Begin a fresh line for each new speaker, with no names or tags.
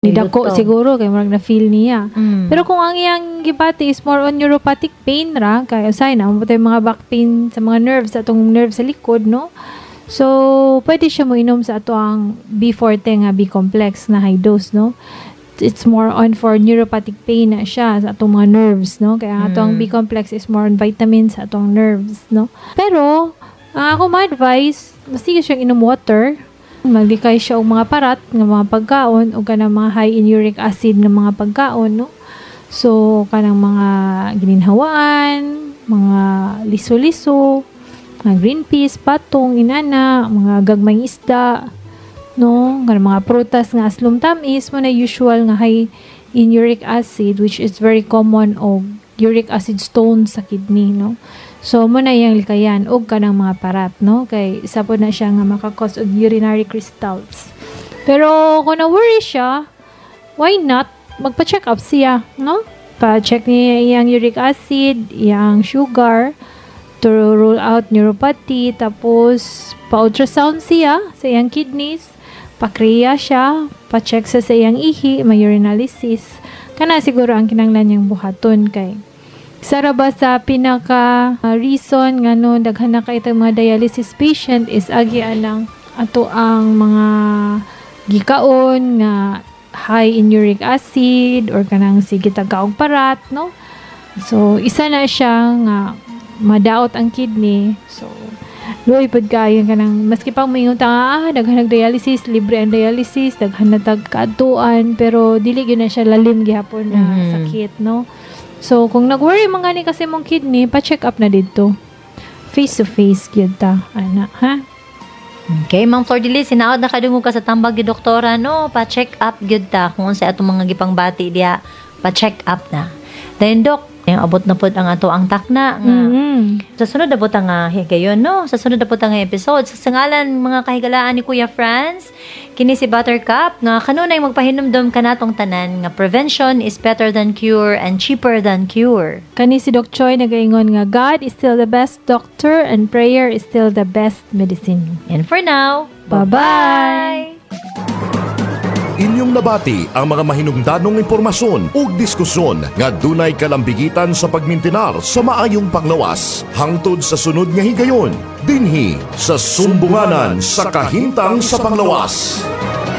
Ni dako
Lutong.
Siguro kay murag na feel niya. Pero kung ang iyang gibati is more on neuropathic pain ra, kay usay na mo mga back pain sa mga nerves, atong nerves sa likod, no? So, pwede siya mo inom sa ato ang B40 nga B complex na high dose, no? It's more on for neuropathic pain na siya sa atong mga nerves, no? Kaya ang atong B complex is more on vitamins sa atong nerves, no? Pero, ang ako ma-advise, mas sige siyang inom water, maglikay siya og mga parat nga mga pagkaon o kanang mga high in uric acid nga mga pagkaon, no? So, kanang mga gininhawaan, mga liso-liso, mga green peas, patong, inana, mga gagmayng isda, no? Kanang mga prutas nga aslom tamis mo na usual nga high in uric acid, which is very common og uric acid stones sa kidney, no? So mo na iyang likayan og kanang mga parat, no? Kay isa po na siya nga maka-cause og urinary crystals. Pero kung na-worry siya, why not magpa-check up siya, no? Pa-check niya iyang uric acid, iyang sugar to rule out neuropathy, tapos pa-ultrasound siya sa iyang kidneys, pa-creat siya, pa-check sa iyang ihi, may urinalysis. Kana siguro ang kinanglan niyang buhaton kay Sara ba sa pinaka reason nga no daghan na kay mga dialysis patient is agi anang ato ang mga gikaon nga high in uric acid or kanang sige tagkaog parat, no? So isa na siya nga madaot ang kidney. So luoy pud kaayo kanang maski pang moingon ta nga, ah, daghan nag dialysis, libre ang dialysis, daghan na tag kaadtuan, pero dili gyud na siya lalim gihapon na sakit, no? So kung nag-worry man gani kasi mong kidney, pa-check up na didto. Face to face gyud ta ana, ha?
Okay, Ma'am Flor de Lis, hinaot nakadungog ka sa tambag ni doktora, no? Pa-check up gyud ta kung unsa atong mga gipangbati diha, pa-check up na. Then Dok, yung abot na pod ang ato ang takna nga sa sunod na po ta nga higayon, no? Sa sunod na po ta nga episode. Sa ngalan mga kahigalaan ni Kuya Franz, kini si Buttercup nga kanunay magpahinumdom kanatong tanan nga prevention is better than cure and cheaper than cure.
Kani si Doc Choi nagaingon nga God is still the best doctor and prayer is still the best medicine.
And for now,
Bye-bye!
Inyong nabati ang mga mahinungdanong impormasyon ug diskusyon nga dunay kalambigitan sa pagmintinar sa maayong panglawas. Hangtod sa sunod nga higayon, dinhi sa Sumbunganan sa Kahimtang sa Panglawas.